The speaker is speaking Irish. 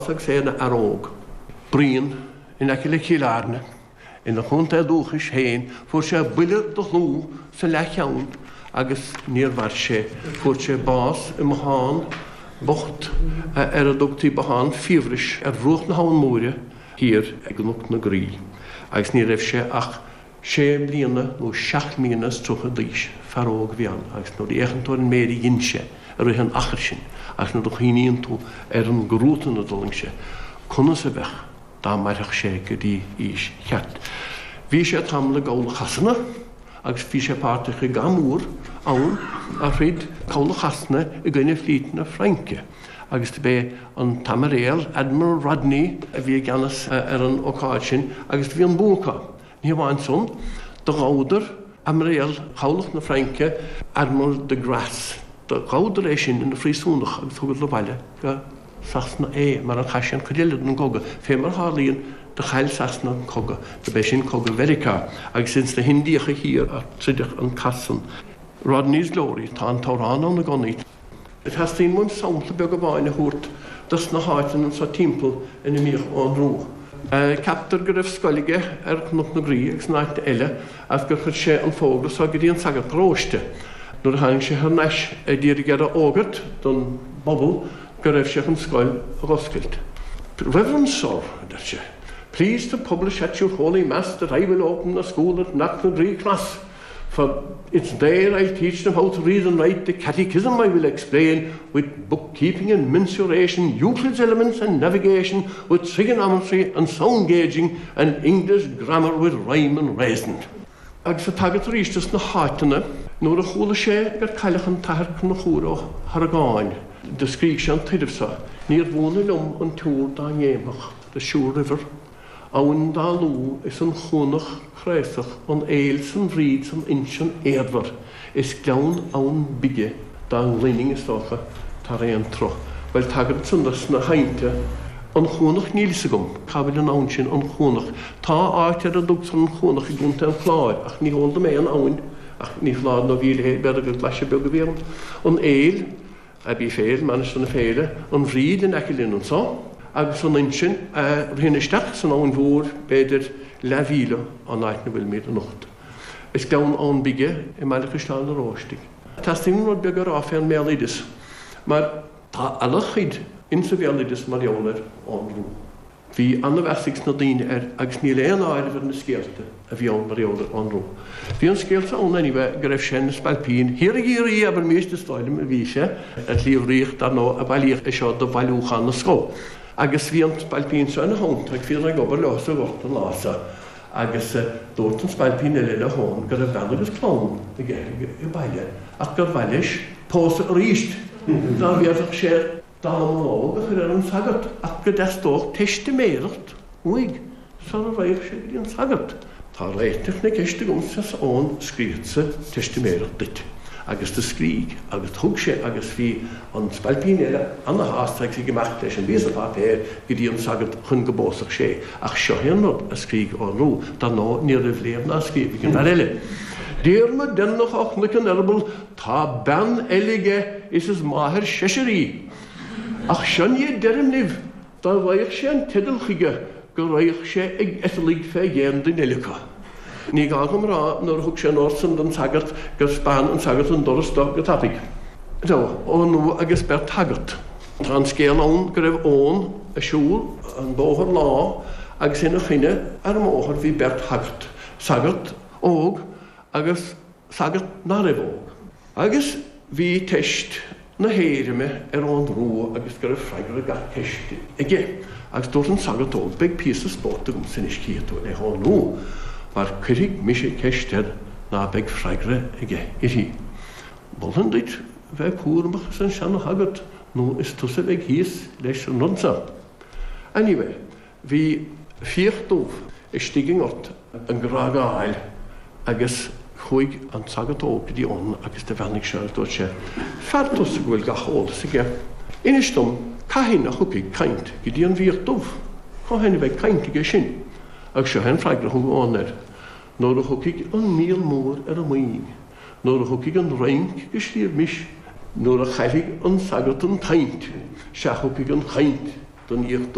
Agus é ina fhear óg. Bruíon in aice le Cill Airne, ina chontae dúchais féin, fuair sé buille de shlua sa leathcheann agus níor mhair sé. Fuair sé bás i mbothán bocht ar a dtugtaí Bothán Fiabhrais ar bhruach na hAbhann Móire thiar i gCnoc na Graí agus ní raibh sé ach sé mbliana nó seacht mbliana is 30 d'aois. Fear óg a bhí ann agus nuair a fhéachann tú ar an méid a dhein sé i rith an achair sin agus nuair a chuimhníonn tú ar an gcruatan a d'fhulaing sé, conas a bheadh dá mairfeadh sé go dtí aois cheart? Bhí sé tamall i gCabhlach Shasana agus bhí sé páirteach i gcath mór ann a throid Cabhlach Shasana i gcoinne flít na Fraince agus do b'é an tAimiréal, Admiral Rodney, a bhí i gceannas ar an ócáid sin agus do bhí an bua acu. Ní hamháin san, do ghabhadar Aimiréal Chabhlach na Fraince, Admiral de Grasse, do ghabhadar é sin ina phríosúnach agus thugadar abhaile go Sasana é, mar ar chaith sé an chuid eile den gcogadh. Fé mar a tharlaíonn, do chaill Sasana an cogadh, do b'é sin cogadh Mheiriceá, agus ins na hIndiacha Thiar a troideadh an cath san. Rodney's Glory, tá an t-amhrán ann i gconaí. Teastaíonn uaim sampla beag amháin a thabhairt dos na háiteanna anso timpeall ina mbíodh Eoghan Rua. Ceaptar go raibh scoil aige ar Chnoc na Graí agus in áiteanna eile agus gur chuir sé an fógra so go dtí an sagart paróiste nuair a tháinig sé thar n-ais a d'iarraidh air a fhógairt don bpobal go raibh sé chun scoil a dh'oscailt. Reverend Sir, a deir sé, please to publish at your Holy Mass that I will open a school at Knocknagree Cross. For it's there I'll teach them how to read and write, the catechism I will explain, with bookkeeping and mensuration, Euclid's elements and navigation, with trigonometry and sound gauging, and English grammar with rhyme and reason. Agus ag tagairt arís dos na háiteanna, nuair a chuala sé gur cailleadh an tAthair Conchúr Ó hArgáin, do scrígh sé an tuireamh so, Níor bhuana liom an tSiúr dá ngéimfeadh, the Suir River, Abhainn Dá Lú is an Chuanach Craosach, an Fhéil 's an Bhríd 's an Uinsinn éadmhar, is Gleann Abhann Bige dá ngluininn, is dócha, tar aon tsruth. Bhuel, tagairt ansan dos na haibhnte. An Chuanach Níl fhios agam cá bhfuil an abhainn sin, An Chuanach. Tá áit ar a dtugtar An Chuanach i gContae an Chláir, ach ní heol dom aon abhainn, ach ní foláir nó bhí a leithéid, b'fhéidir gur glaise beag a bhí ann. An Fhéil. Abbey Féil, Mainistir na Féile, an Bhríd in aice linn anso, agus an Uinsinn a ritheann isteach san Abhainn Mhór b'fhéidir leathmhíle ón áit 'na bhfuilimid anocht. Is Gleann Abhann Bige i mBaile Chaisleáin an Oróistigh. Teastaíonn rud beag a rá fén mbéaloideas, mar tá ana-chuid insa bhéaloideas mar gheall ar Eoghan Rua. Bhí ana-mheas ag sna daoine air agus níl aon áireamh ar na scéalta a bhí ann mar gheall ar Eoghan Rua. Bhí an scéal seo ann anyway go raibh sé ina spailpín thiar i gCiarraí, abairmíst, is dóigh liom, a bhí sé, ar Shliabh Riach, dar ndóigh, a bailíodh é seo do bhailiúchán na scol. Agus bhí an spailpín seo ina theannta agus bhíodar ag obair leo sa ghort an lá seo agus dúirt an spailpín eile le hEoghan go raibh bean agus clann aige ag baile ach gur mhaith leis pósadh aríst dá bhféadfadh sé dallamullóg a chur ar an sagart ach go dteastódh teistiméireacht uaidh sara raghadh sé go dtí an sagart. Tá réiteach na ceiste agamsa, arsa Eoghan, scríobhadsa teistiméireacht duit. Agus do scrígh, agus thug sé agus bhí an spailpín eile ana-shásta agus ag imeacht leis an bpíosa páipéir go dtí an sagart chun go bpósfadh sé. Ach seo é an rud a scrígh Eoghan Rua. Dar ndóigh ní raibh léamh ná scríobh ag an bhfear eile. Diarmaid Deireanach ó Chnoic an Eireabaill Tá bean eile aige is is máthair seisear í. Ach seo ní a deirim libh, dá bhfaigheadh sé an teideal chuige go raghadh sé ag eiteallaigh fé dhéin duine eile acu. Ní gá dom a rá nuair a thug sé an ord san don sagart gur 'speáin an sagart an doras do go tapaidh. So, Eoghan Rua agus beirt shagart. Tá an scéal ann go raibh Eoghan ag siúl an bóthar lá agus ina choinne ar an mbóthar bhí beirt shagart, sagart óg agus sagart ná raibh óg. Agus bhí teist na héirime ar Eoghan Rua agus go raibh freagra gach ceist aige. Agus dúirt an sagart óg, Beidh píosa spóirt agamsa anois cífidh tú le hEoghan Rua, mar cuirfidh mise ceist air ná beidh freagra aige uirthi. Mholfainn duit bheith cúramach arsa an seana-shagart nó is tusa a bheidh thíos leis an rud so. Anyway, Bhí fiach dubh istigh i ngort ag grágáil agus chuaigh an sagart óg go dtí Eoghan agus do bheannaigh sé agus dúirt sé, Fear tusa go bhfuil gach eolas aige. Inis dom cathain a thiocfaidh caint go dtí an bhfiach dubh? Cathain a bheidh caint aige sin? Agus seo é an freagra a thug Eoghan air, Nuair a thiocfaidh an míol mór ar an moing, nuair a thiocfaidh an Fhrainc go Sliabh Mis, nuair a chaillfidh an sagart an tsaint, sea thiocfaidh an chaint. don fhiach dubh.